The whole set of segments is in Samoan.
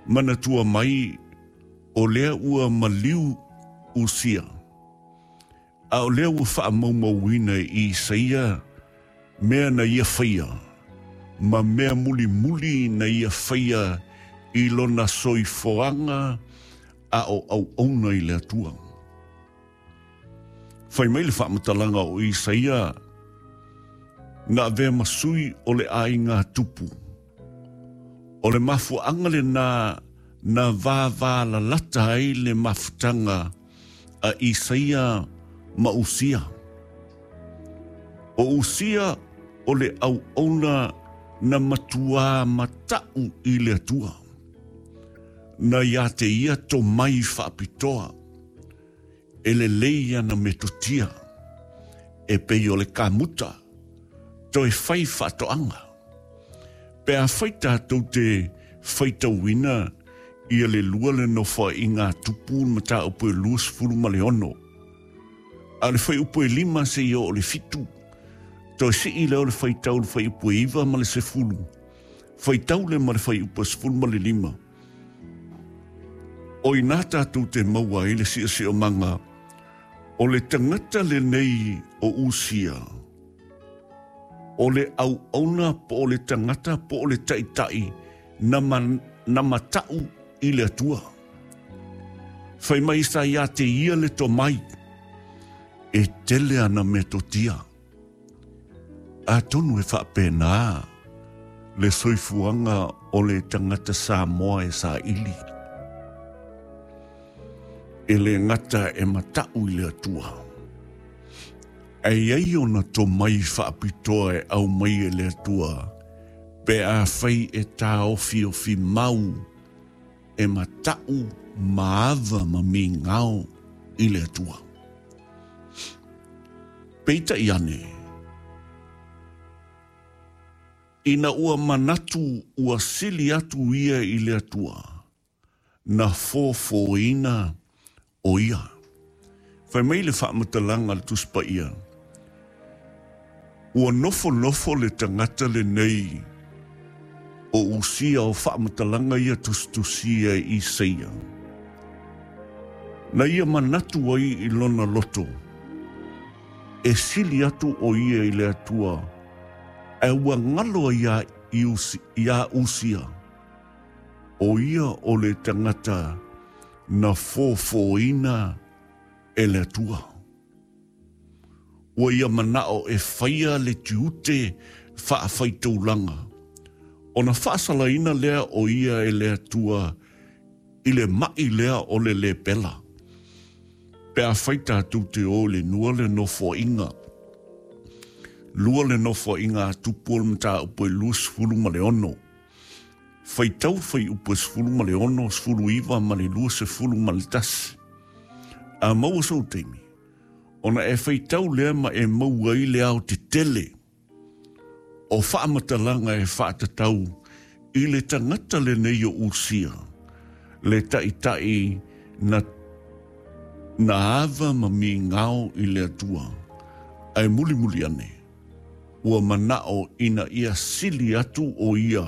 Manatua mai o lea ua maliu Usia, a o lea ua faamaumauina e Isaia mea na ia faia ma mea mulimuli na ia faia i lona soifuaga a o auauna i le Atua. Fai mai le faamatalaga o Isaia, na avea ma sui o le aiga tupu. O le mafuaaga lenā na vāvālalata ai le mafutaga a Isaia ma Usia. O Usia o le auauna na matuā mataʻu i le Atua. Na iā te ia tomai faapitoa e lelei ana metotia e pei o le kamuta toe fai faatoaga. Pe afai tatou te faitauina ia le lua le Nofoaiga a Tupu le mataupu e 26, a o le fuaiupu e 5 seia oo i le 7, toe sii lea o le faitau i le fuaiupu e 9 ma le 10, faitau lea ma le fuaiupu e 15. O i ina tatou te maua ai le siosiomaga o le tagata lenei o Usia, o le auauna po o le tagata po o le taitai na, ma, na mataʻu i le Atua. Fai mai sa iā te ia le tomai, e tele ana metotia. Atonu e faapena le soifuaga o le tagata Samoa e saili. E le gata e mataʻu i le Atua, ae i ai ona tomai faapitoa e aumai e le Atua pe afai e taofiofi mau e mataʻu ma ava ma migao i le Atua. Peitai ane, ina ua manatu ua sili atu ia i le Atua, na fofōina ʻo ia. Fai mai le faamatalaga a le Tusi Paia, Ua nofonofo le tagata lenei o Usia o faamatalaga ia tusitusia e Isaia, na ia manatu ai i lona loto, e sili atu ʻo ia i le Atua, ae ua galo ai iā Usia, ʻo ia o le tagata na fofōina e le Atua. Ua ia manaʻo e faia le tiute faafaitaulaga, ona faasalaina lea o ia e le Atua i le maʻi lea o le lepela. Pe afai tatou te o i le nua le nofoaiga, lua le nofoaiga a Tupu o le mataupu e 26, Faitau fuaiupu e 16, 19 ma le 21. A maua sou taimi, ona e faitau lea ma e maua ai le aotetele o faamatalaga e faatatau i le tagata lenei o Usia, le taitai na na ava ma migao i le Atua, ae mulimuli ane, ua manaʻo ina ia sili atu ʻo ia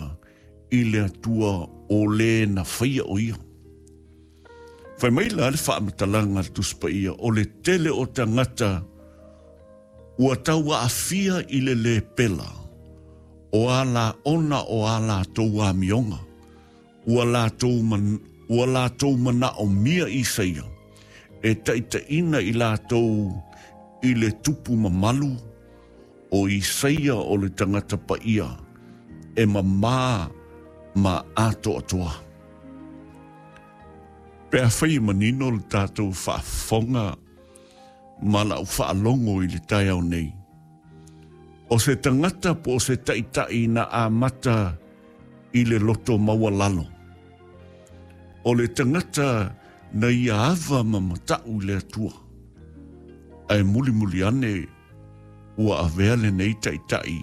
i le Atua o lē na faia ʻo ia. Fai mai la le faamatalaga a le Tusi Paia, o le tele o tagata ua tauaafia i le lēpela o a lāʻona o a lātou amioga, Ua latou, ua latou manaʻomia Isaia e taitaʻina i latou i le tupu mamalu o Isaia o le tagata paia e mamā ma atoatoa. Pe afai e manino le tatou faafofoga ma lau faalogo i le taeao nei, o se tagata po o se taitai na amata i le loto maualalo. O le tagata na ia ava ma mataʻu i le Atua. Ae mulimuli ane ua avea lenei taitai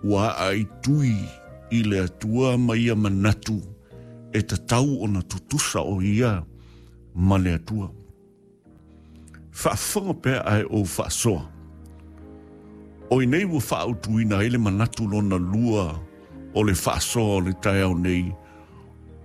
ua aaitui i le Atua ma ia manatu e tatau ona tutusa ʻo ia ma le Atua. Faafofoga pea ae ou faasoa. O i nei ua faautuina ai le manatu lona lua o le faasoa o le taeao nei.